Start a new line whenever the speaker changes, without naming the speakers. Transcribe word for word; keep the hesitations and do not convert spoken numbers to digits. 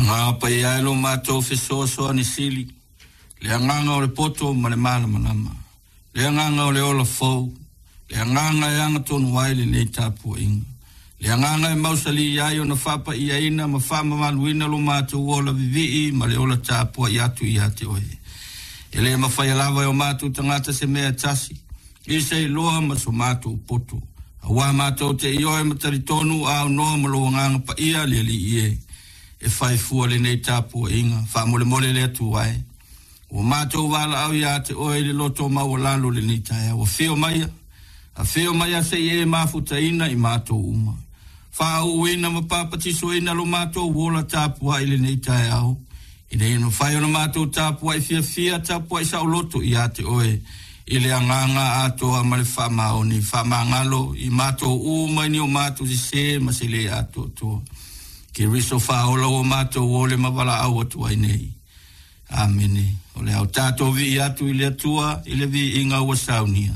Agaga Paia e lo matou fesoasoani sili, le agaga o le poto ma le malamalama, le agaga o le ola fou, le agaga e agatonu ai lenei tapuaiga, le agaga e mausali ai ona faapaiaina ma faamamaluina lo matou ola vivii ma le ola tapuai atu ia te oe. E le mafaia lava e o matou tagata se mea e tasi, i se iloa ma so matou poto. Auā matou te ioe ma talitonu a aunoa ma lou Agaga Paia le Alii e, e fai fua lenei tapuaiga, faamolemole le Atua e. Ua matou valaau ia te oe i le loto maualalo lenei taeao. Afio maia, afio maia se i e mafutaina i matou uma. Faauuina ma papatisoina lo matou ola tapuai lenei taeao. Ina ia mafai ona matou tapuai fiafia, tapuai saoloto ia te oe, i le agaga atoa ma le faamaoni, faamagalo i matou uma i ni o matou sesē ma se lē atoatoa. Keriso faaola ua matou ole ma valaau atu ai nei. Amene. O le a tatou vii atu i le Atua i le viiga ua saunia.